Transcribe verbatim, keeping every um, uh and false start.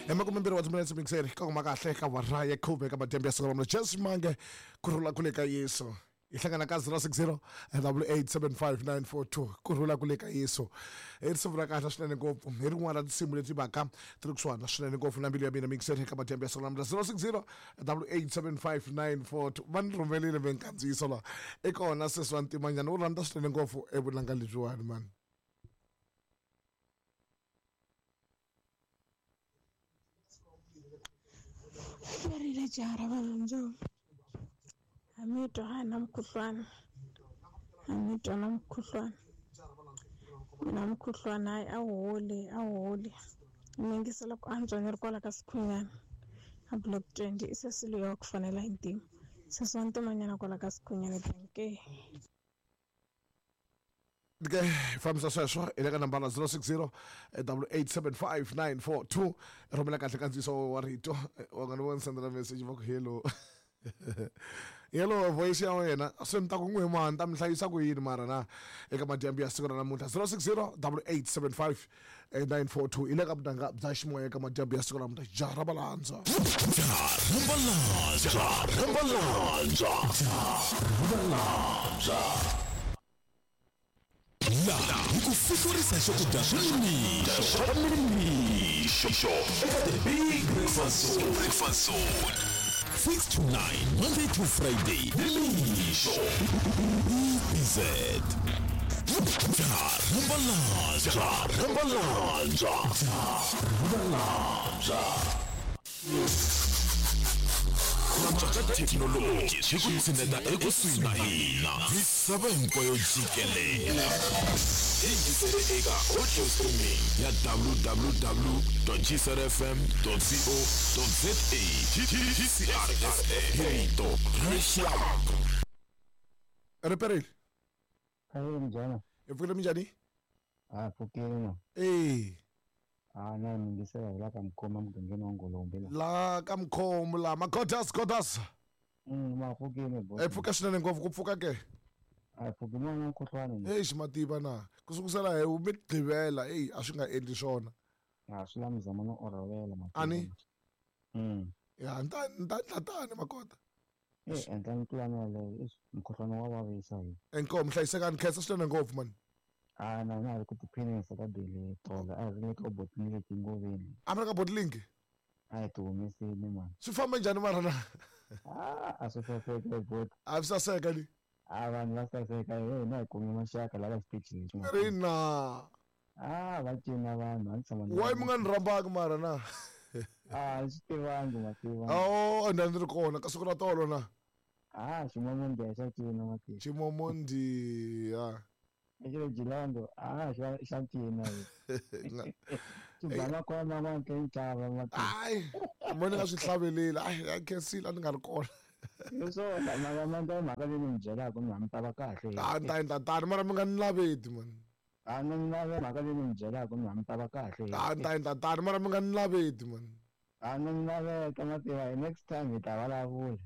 Hi makumembirhi wa timinetse mixeri ka kuma kahle ka wara ya khume ka madyambu ya siku ra Jesu Mange ku rhula kule ka Yesu. Hi hlangana ka zero six zero double eight seven five nine four two ku rhula kule ka Yesu. I risimu ra kahle swinene ngopfu hi rin'wana ra tinsimu leti vaka ti ri kusuhana swinene ngopfu na mbilu ya mina mixeri ka madyambu ya siku ra zero six zero double eight seven five nine four two. Va ni rhumelile minkandziyiso laha i kona sesi wa ntimanyana u rhandza swinene ngopfu evunanga lebyiwani mani. Rile jaha ra vanhu a mi twa ha na mukhuhlwana a mi twa na mukhuhlwana mina mukhuhlwana hayi a wu holi a wu holi ni yingisela ku antswa ni ri kwala ka Sikhunyana a block twenty i sesi loyi wa ku fanela hi ntima sesi wa ntimanyana kwala ka Sikhunyana danke. Ke fambisa sweswo hi le ka nambara zero six zero double eight seven five nine four two rhumela kahle kandziyiso wa rito wa nga ni voni sendela message va ku hello hello voice ya wena se ni ta ku n'wi mani ta mi hlayisa ku yini mara na eka madyambu ya siku ra namuntlha zero six zero double eight seven five nine four two hi le ka vunanga bya ximoya eka madyambu ya siku ra namuntlha jaha ra Balandza. Jaha ra Balandza. Jaha ra Balandza. Jaha ra Balandza. Laha hi ku fihlurisa swakudya swa nimixo swa nimixo eka The Big Breakfast Zone. Breakfast Zone six to nine Monday to Friday nimixo B B Z. Jaha ra Balandza. Jaha ra Balandza. Jaha ra Balandza. Thekinoloji swi ku tshineta ekusuhi na hina misava hinkwayo jikelele. Yingisele eka audio streaming ya w w w dot g c r f m dot co dot z a. G C R F M hi rito ra rixaka. Riperile. Ahee minjhani? Hi pfukile minjhani? A pfukile na. Eh. Ah na mi yingisela hi la ka Mkhoma mugangeni wa Ngolombe la. La ka Mkhoma la Magodas Godas. Mm ma pfukile boss. E pfuka swinene ngopfu ku pfuka ke. A pfuki mwana mukhuhlwana. Eish mativa na. Ku sukusela hi mi gqivela ey a swi nga endli swona. A swi la mizamo no orhovela mativa. Ani? Mm. Ya nta nta tani makota. Eh endla mipulani yaleyo eish mukhuhlwana wa vavisa hi. Inkomu hlayisekani khensa swinene ngopfu mani. Ah na na ri ku tiphinisa ka bele tola a ri le ka botlini tingoveni. A mi ri ka botling? A hi ti humesile mani. Swi famba njhani mara na? Ah a swi saseka bot. A swi saseka ni? A vanhu va saseka hi hina hi kume maxaka lava xitichini. Ri na. Ah va cina vanhu a ni tshama. Why mi nga ni rhambaki mara na? Ah swi tivangi mativa. Oh a ni ri kona ka siku ra tolo na. Ah ximomondiya xa cina mativa. Ximomondiya. Xilo Jilando ah xa xa cina. Xibana kona ma ke ntlava mativa. Ai mo ni nga swi hlaveleli ai a khensile a ni nga ri kona. Leswo mara manda mhaka leyi ni mi byelaka ni mi ta va kahle. A ni ta endla tani mara mi nga ni laveti mani. A ni lave mhaka leyi ni mi byelaka ni mi ta va kahle. A ni ta endla tani mara mi nga ni laveti mani. A ni laveka mativa next time hi ta vulavula.